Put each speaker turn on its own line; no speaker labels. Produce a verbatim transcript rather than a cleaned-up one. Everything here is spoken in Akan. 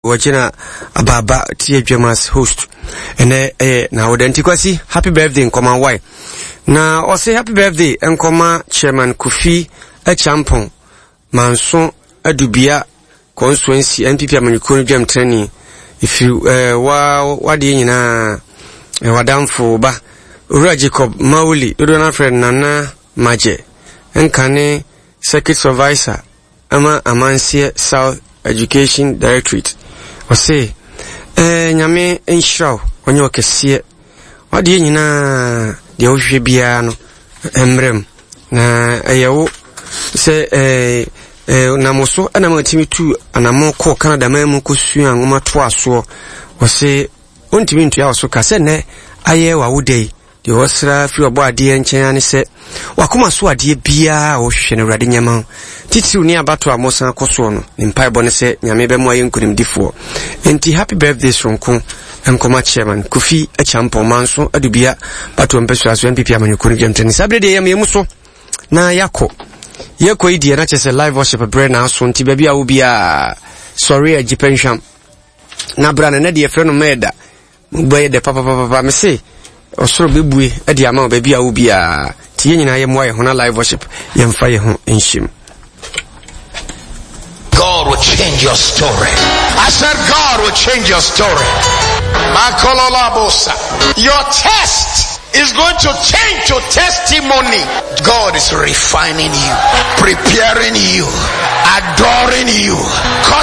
Wɔgyina abaaba tie dwam as host. Ɛnɛ ɛyɛ na wɔda nti Kwasi, happy birthday nkɔma wae. Na ɔse happy birthday nkɔma Chairman Kofi Acheampong, Manso Adubia Constituency N P P amanyɔkuo no dwam trani. Ɛfiri ɛɛ wa wadeɛ nyinaa wadamfo ba Owura Jacob Mawuli, dodoɔ no afrɛ Nana Magye, nkane circuit supervisor ama Amanseɛ South Education Directorate. Ɔse ɛɛ Nyame nhyira wo, ɔnyɛ ɔkɛseɛ, wadeɛ nyinaa deɛ wohwehwɛ biara no mmerɛ mu na ɛyɛ wo sɛ ɛɛ ɛɛ nam so ɛna ma tumi tu anammɔn kɔɔ Canada man mu kɔsua nwoma toa soɔ. Ɔse ɔntumi ntua wo so ka sɛ nnɛ ayɛ w'awoda yi. Deɛ wɔsra firi ɔbɔ adeɛ nkyɛn ne sɛ wakoma so adeɛ biara a wɔhwehwɛ no, Awurade nyɛma ho titiriw ne abato a mosan kɔ soɔ no. Ne mpaebɔ ne sɛ Nyame bɛmo ayɛ nkonimdifoɔ. Enti happy birthday soronko nkɔma Chairman Kofi Acheampong, Manso Adubia batoɔ mpɛsua so N P P amanyɔkuo no dwamtani. Saa berɛ deɛ yɛm yɛmu so na yɛakɔ yɛkɔ yi deɛ na kyerɛ sɛ live worship berɛ na aso, nti baabi a wo biaa sɔre a gyipɛ nhwam na bra no. Nɛ deɛ yɛfrɛ no mɛɛda bɛyɛ dɛ papapapa. Me se ɔsoro bɛbue de ama wo baabi a wo biaa, nti yɛn nyinaa yɛmmoa yɛ ho na live worship yɛmfa yɛ ho nhyɛm.
God will change your story. I said God will change your story. Makololabosa. Your test is going to change to testimony. God is refining you, preparing you, adoring you, cutting